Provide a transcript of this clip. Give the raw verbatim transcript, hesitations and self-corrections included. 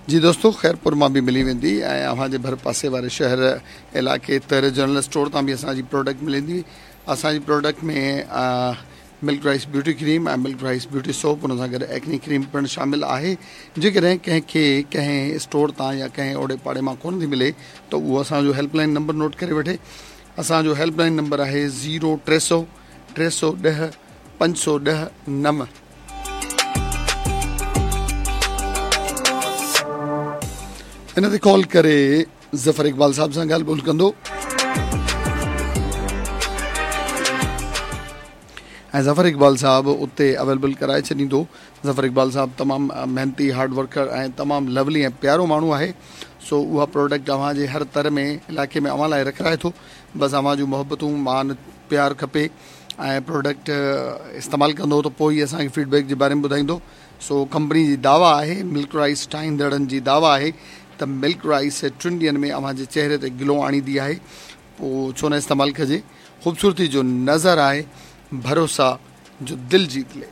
جي دوستو، خيرپور مان به ملي ويندي ۽ اوهان جي ڀر پاسي واري شهر، علائقي، تر جنرل اسٽور تان به اسان جي پراڊڪٽ ملندي. اسان جي product ۾ milk rice beauty cream ۽ milk rice beauty soap, ان سان گڏ ايڪني ڪريم پڻ شامل آهي. جيڪڏهن ڪنهن کي ڪنهن اسٽور تان يا ڪنهن اوڙي پاڙي مان ڪونه ٿي ملي ته اهو اسان جو هيلپ لائن نمبر نوٽ ڪري وٺي. اسان جو هيلپ لائن نمبر آهي زيرو ٽي سؤ ٽي سؤ ڏهه پنج سؤ ڏهه نو. ان تي ڪال ڪري ظفر اقبال صاحب سان ڳالهه ٻولهه ڪندو ۽ ظفر اقبال صاحب اتي اويليبل ڪرائي ڇڏيندو. ظفر اقبال صاحب تمام محنتي، هارڊ ورڪر ۽ تمام لولي ۽ پيارو ماڻهو آهي، سو اها پروڊڪٽ اوهان جي هر تر ۾ علائقي ۾ اوهان لاء رکرائي ٿو. بس اوهان جون محبتون، مان، پيار کپي ۽ پروڊڪٽ استعمال ڪندو ته پوء ئي اسان کي فيڊ بيڪ جي باري ۾ ٻڌائيندو. سو ڪمپني جي دعويٰ آهي، ملڪ رائس ٺاهيندڙن جي دعويٰ آهي ته ملڪ رائس ٽن ڏينهن ۾ اوهان جي چهري تي گلو آڻيندي آهي، پوء ڇو نه استعمال ڪجي. خوبصورتي جو نظر آهي، ڀروسا جو دل جيت لي.